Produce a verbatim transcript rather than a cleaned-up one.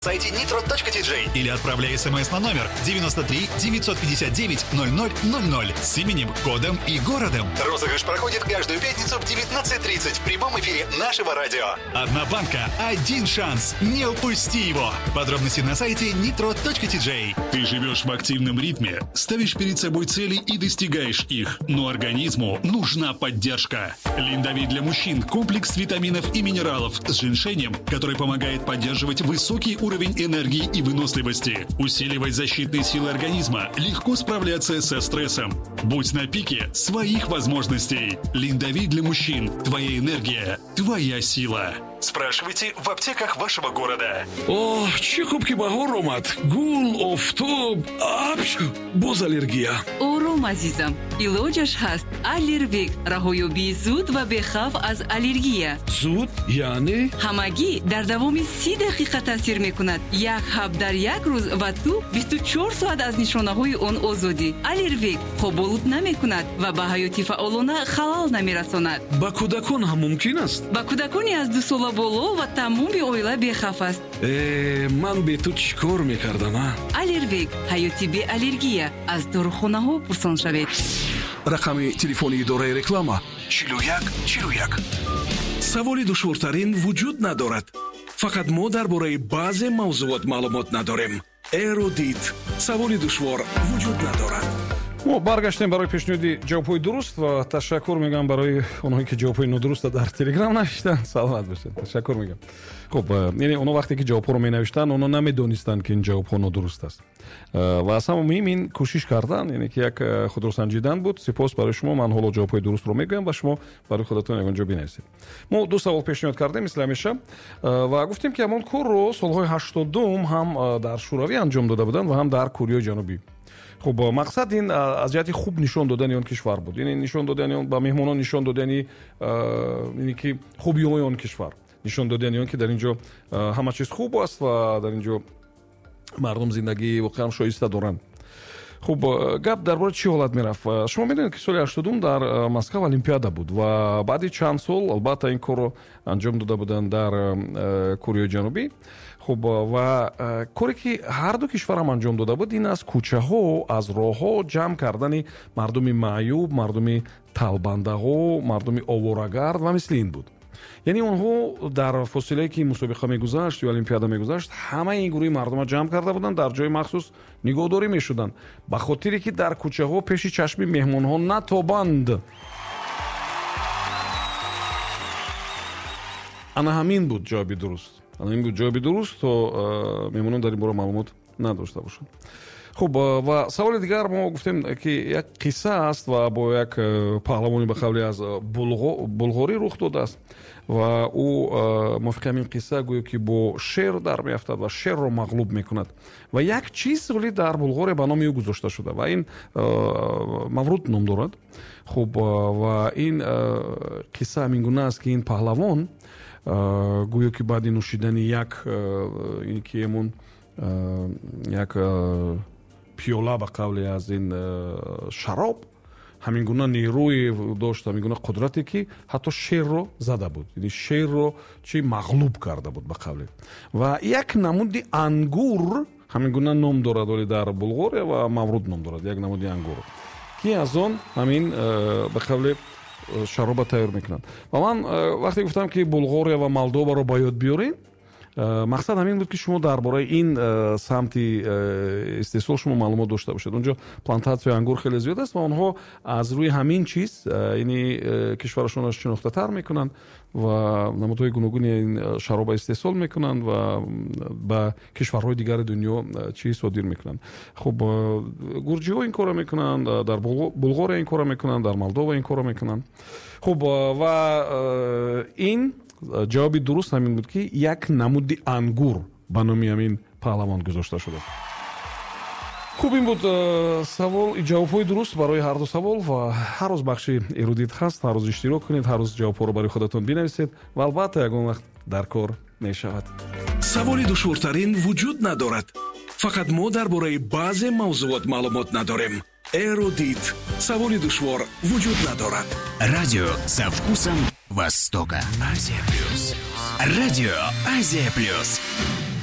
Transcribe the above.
Сайте nitro точка ти джей или отправляй смс на номер девяносто три девятьсот пятьдесят девять ноль ноль ноль ноль с именем, кодом и городом. Розыгрыш проходит каждую пятницу в девятнадцать тридцать в прямом эфире нашего радио. Одна банка, один шанс. Не упусти его. Подробности на сайте nitro точка ти джей. Ты живешь в активном ритме, ставишь перед собой цели и достигаешь их. Но организму нужна поддержка. Линдовит для мужчин – комплекс витаминов и минералов с женьшенем, который помогает поддерживать высокий уровень уровень энергии и выносливости, усиливать защитные силы организма, легко справляться со стрессом. Будь на пике своих возможностей. Линдовит для мужчин. Твоя энергия, твоя сила. Спрашивайте в аптеках вашего города. Оҳ, чӣ хуб ки баҳор омад. Гул, офтоб, апш, боз аллергия. Ором, азизам. Илоҷаш ҳаст. Аллервек. Раҳоёбии зуд ва бехавф аз аллергия. Зуд? Яъне? Ҳамагӣ дар давоми си дақиқа таъсир мекунад. Як ҳаб дар як рӯз ва ту бисту чор соат аз нишонаҳои он озодӣ. Аллервек хоболуд намекунад ва ба ҳаёти фаъолона халал намерасонад. Ба кӯдакон ҳам мумкин аст? Ба кӯдакони аз ду сола боло ва тамоми оила бехавф аст. Э, ман бе ту чӣ кор мекардам, а? Аллервек. Ҳаёти беаллергия. Аз дорухонаҳо пурсон шавед. Рақами телефони идораи реклама чилу як чилу як. Саволи душвортарин вуҷуд надорад. Фақат мо дар бораи баъзе мавзуот маълумот надорем. Эрудит. Саволи душвор вуҷуд надорад. Мо баргаштем барои пешниҳоди ҷавобҳои дуруст ва ташаккур мегӯям барои онҳое ки ҷавобҳои нодурустро дар Телеграм навиштанд. Саломат бошед. Ташаккур мегӯям. Хуб, яъне онҳо вақте ки ҷавобҳоро менавиштанд, онҳо намедонистанд ки ин ҷавобҳо нодуруст аст. Ва аз ҳама муҳим ин кӯшиш кардан, яъне ки як худро санҷидан буд. Сипос барои шумо. Ман ҳоло ҷавобҳои дурустро мегӯям ва шумо барои худатон ягон ҷо бинависед. Мо ду савол пешниҳод кардем мисли ҳамеша ва гуфтем ки ҳамон корро солҳои ҳаштодум ҳам дар Шӯравӣ анҷом дода буданд ва ҳам дар Кореяи Ҷанубӣ. Хуб, мақсад ин аз ҷиҳати хуб нишон додани он кишвар буд. Яъне нишон додани он ба меҳмонон, нишон додани ине ки хубиҳои он кишвар, нишон додани он ки дар ин ҷо ҳама чиз хуб аст ва дар ин ҷо мардум зиндагии воқеан шоиста доранд. Хуб, гап дар бораи чӣ ҳолат мерафт? Шумо медонед ки соли ҳаштодум дар Москва Олимпиада буд ва баъди чанд сол албатта ин корро анҷом дода буданд дар Кореяи Ҷанубӣ. Хуб, ва коре ки ҳар ду кишварам анҷом дода буд ин аз кӯчаҳо, аз роҳҳо ҷамъ кардани мардуми маъюб, мардуми талбандаҳо, мардуми оворагард ва мисли ин буд. Яъне онҳо дар фосилае ки мусобиқа мегузашт ё олимпиада мегузашт, ҳамаи ин гурӯҳи мардума ҷамъ карда буданд, дар ҷои махсус нигоҳдорӣ мешуданд, ба хотире ки дар кӯчаҳо пеши чашми меҳмонҳо натобанд. Ана ҳамин буд ҷавоби дуруст. Ана ҳамин буд ҷавоби дуруст, то меҳмонон дар ин бора маълумот надошта бошанд. Хуб, ва саволи дигар мо гуфтем ки як қисса аст ва бо як паҳлавони ба қавли аз Булғорӣ рух додааст ва ӯ мувофиқи ҳамин қисса гӯё ки бо шер дар меафтад ва шерро мағлуб мекунад ва як чиз вале дар Булғория ба номи ӯ гузошта шуда ва ин Мавруд ном дорад. Хуб, ва ин қисса ҳамин гуна аст ки ин паҳлавон гӯё ки баъди нӯшидани як ин ки ҳамон як пиёла ба қавле аз ин шароб ҳамин гуна нерӯе дошт, ҳамин гуна қудрате ки ҳатто шерро зада буд, яъне шерро чӣ мағлуб карда буд ба қавле. Ва як намуди ангур ҳамин гуна ном дорад, вале дар Булғория ва Мавруд ном дорад, як намуди ангур ки аз он ҳамин ба қавле шароба тайёр мекунанд. Ва ман вақте гуфтам ки Булғория ва Молдоваро ба ёд биёрем, мақсад ҳамин буд ки шумо дар бораи ин самти истеҳсол шумо маълумот дошта бошед. Онҷо плантатсияи ангур хеле зиёд аст ва онҳо аз рӯи ҳамин чиз яъне кишварашонро шинохтатар мекунанд ва намудҳои гуногуни ин шароба истеҳсол мекунанд ва ба кишварҳои дигари дунё чиз содир мекунанд. Хуб, гурҷиҳо ин корро мекунанд, дар Булғория ин корро мекунанд, дар Молдова ин корро мекунанд. Хуб, ва ин ҷавоби дуруст ҳамин буд ки як намуди ангур ба номи ҳамин паҳлавон гузошта шудааст. Хуб, ин буд савол, ҷавобҳои дуруст барои ҳар ду савол ва ҳар рӯз бахши эрудит ҳаст, ҳар рӯз иштирок кунед, ҳар рӯз ҷавобҳоро барои худатон бинависед ва албатта ягон вақт дар кор мешавад. Саволи душвортарин вуҷуд надорад. Фақат мо дар бораи баъзе мавзуот маълумот надорем. Эрудит. Саволи душвор вуҷуд надорад. Радио со вкусом Востока. Азия плюс. Радио Азия плюс.